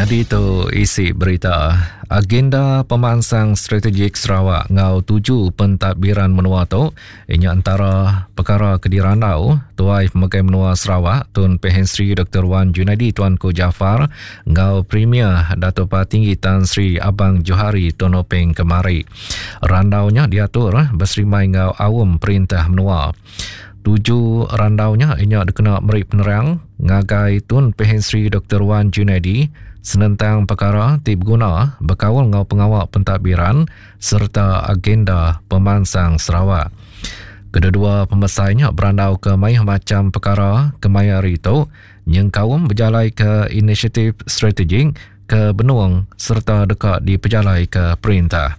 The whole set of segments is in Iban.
Nyadi tu isi berita. Agenda Pemansang Strategik Sarawak enggau tuju pentadbiran menua tu inya entara pekara ke dirandau Tuai Pemegai Menua Sarawak Tun Pehin Sri Doktor Wan Junaidi Tuanku Jaafar enggau Premier Datuk Patinggi Tan Sri Abang Johari Tun Openg kemari. Randau nya diatur beserimbai enggau aum perintah menua. Tuju randau nya inya dikena meri penerang ngagai Tun Pehin Sri Doktor Wan Junaidi senentang pekara ti beguna bekaul enggau pengawa pentadbiran sereta agenda pemansang Sarawak. Kededua pemesai nya berandauka mayuh macham pekara kemaya hari tu nyengkaum bejalaika inisiatif strategik ke benung sereta deka dipejalaika perintah.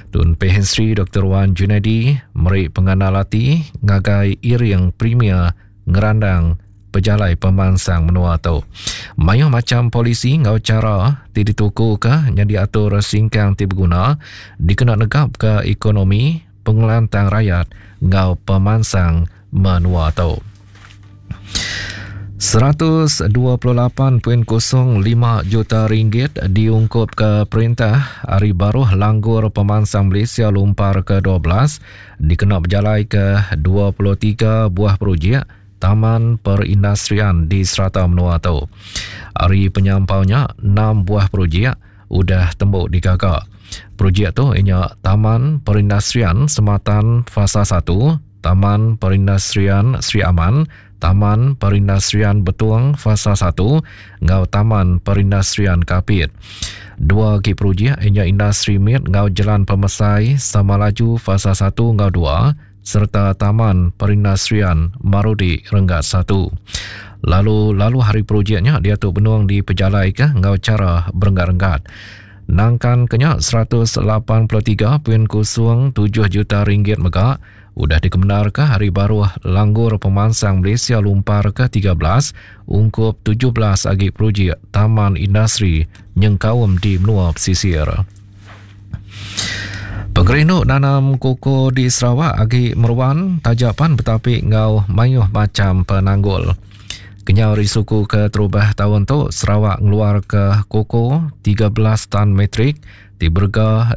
Tun Pehin Sri Doktor Wan Junaidi meri pengandal ati ngagai iring Premier ngerandang pejalai pemansang menua tu. Mayuh macham polisi enggau chara ti ditukuka nyadi atur singkang ti beguna dikena negapka ekonomi, pengelantang rayat enggau pemansang menua tu. 128.05 juta ringgit diungkupka perintah ari baruh langgur pemansang Malaysia Lumpar ke-12 dikena bejalaika 23 buah projek Taman Perindustrian di serata menua tu. Ari penyampau nya, 6 buah projek udah tembu digaga. Projek tu inya Taman Perindustrian Sematan Fasa 1, Taman Perindustrian Sri Aman, Taman Perindustrian Betong Fasa satu enggau Taman Perindustrian Kapit. Dua agi projek iya nya Industri Mit enggau Jelan Pemesai Samalaju Fasa satu enggau dua sereta Taman Perindustrian Marudi Renggat satu. Lalu lalu hari projek nya diatu benung dipejalaika enggau chara berenggat-renggat. Nangkan ke nya 183.07 juta ringgit mega udah dikemendarka hari baruh Langgur Pemansang Malaysia Lumpar ke 13 ungkup 17 agi projek taman industri nyengkaum di menua pesisir. Pengerindu nanam koko di Sarawak agi meruan taja pan betapi enggau mayuh macham penanggul. Kenyau ari suku keterubah taun tu, Sarawak ngeluarka koko 13 tan metrik ti berega.